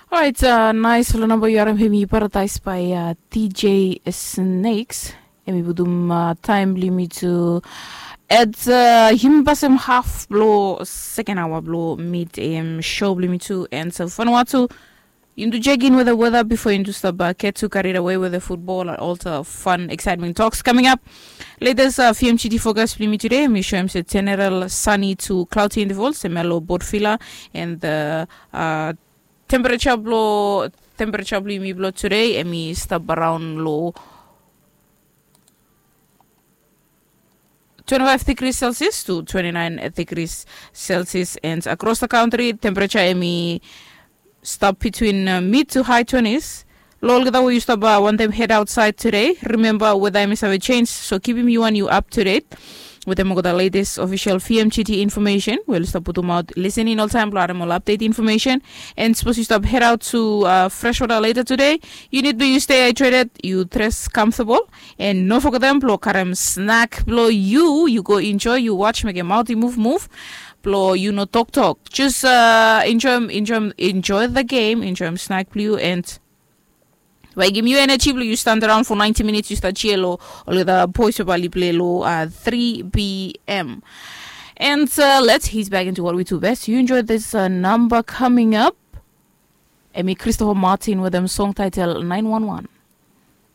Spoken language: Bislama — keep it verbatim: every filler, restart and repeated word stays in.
Orait, nais long namba yu harim hem i Paradise by TJ Snakes. Em i putum taem blong yumi tu at yumi pasem haf blong seken aoa blong mit em show blong yumi tu and Vanuatu. Yumi tu check in with the weather before yumi tu stap get tu carried away with the football and all the fun excitement talks coming up. Latest uh, V M G T forecast blong yumi today, mi show em se general sunny to cloudy intervals, em yellow boat filler and the uh, temperature blo temperature blo yumi blo today, em i stap around lo twenty-five degrees Celsius to twenty-nine degrees Celsius, and across the country temperature em i stap between uh, mid to high twenties. Lo olgeta we yu stap uh, wantem head outside today, remember weather em i save change, so kipim yu and yu up to date wetem olgeta latest official V M G T information we ol stap putum out. Listen in oltaem blo harim ol update information. And sapos yu stap head out to uh, fresh water later today, yu need blo yu stay hydrated, yu dress comfortable, and no fogetem blo karem snack blo yu, yu go enjoy, yu watch, mekem mouth i move move. Blo yu no toktok, just uh, enjoy, enjoy, enjoy the game, enjoy snack blo yu, and bai givim yu energy blo yu stand around for ninety minutes, yu start cheer lo olgeta boys we bali play lo uh, three p.m. And uh, let's heat back into what we do best. You enjoy this uh, number coming up. Em i Christopher Martin with them song title nine one one.